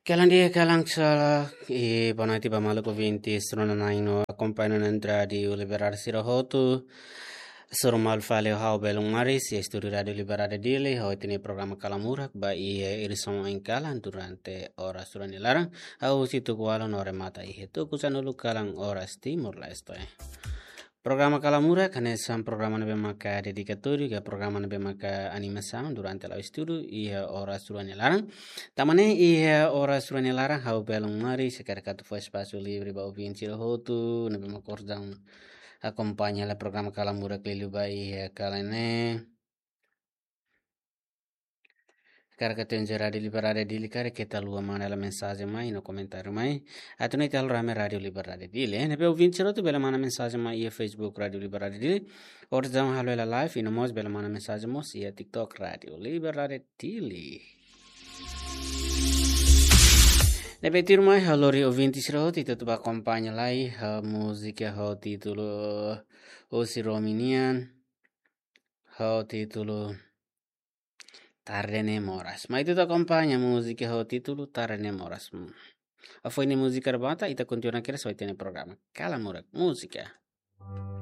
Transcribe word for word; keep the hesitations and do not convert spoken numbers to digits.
Kalan di'ak, kalan sala, i boa noite ba maluk ouvintes rona-na'in no akompaña ona iha Rádiu Liberdade sira hotu. Hasoru malu fali ho ha'u Belun Maris, iha estúdiu Rádiu Liberdade Dili, ho ita-nia programa Kalamurak ba iha edisaun oin kalan durante oras rua nia laran. Hahú husi tuku ualu no remata iha tuku sanulu kalan oras Timor-Leste. Programa Kalamurak hanesan programa ne'ebé maka dedikatóriu, ka programa ne'ebé maka animasaun durante la'o estudu iha oras rua nia laran. Tanba ne'e iha oras rua nia laran ha'u Belun Maris hakarak atu fó espasu livre ba ouvinte sira hotu ne'ebé maka orsida akompaña hela programa Kalamurak liuliu ba iha kalan ne'e. Hakarak atu enjoy Rádiu Liberdade Dili karik keta haluha manda hela mensajen mai no komentáriu mai. Atu nune'e ita halo rame Rádiu Liberdade Dili. Ne'ebé ouvinte sira hotu bele manda mensajen mai iha Facebook Rádiu Liberdade Dili. Orsida halo hela live, i no mós bele manda mensajen mós iha TikTok Rádiu Liberdade Dili. Ne'ebé tuirmai ha'u lori ouvinte sira hotu ita atu bá akompaña lai ho múzika ho títulu Osi Romi nian, ho títulu Tarde Ne'e Moras. Mai ita atu akompaña múzika ho títulu Tarde Ne'e Moras. Hmm. Hafoin múzika remata, ita kontinua kedas ho ita-nia programa Kalamurak Múzika.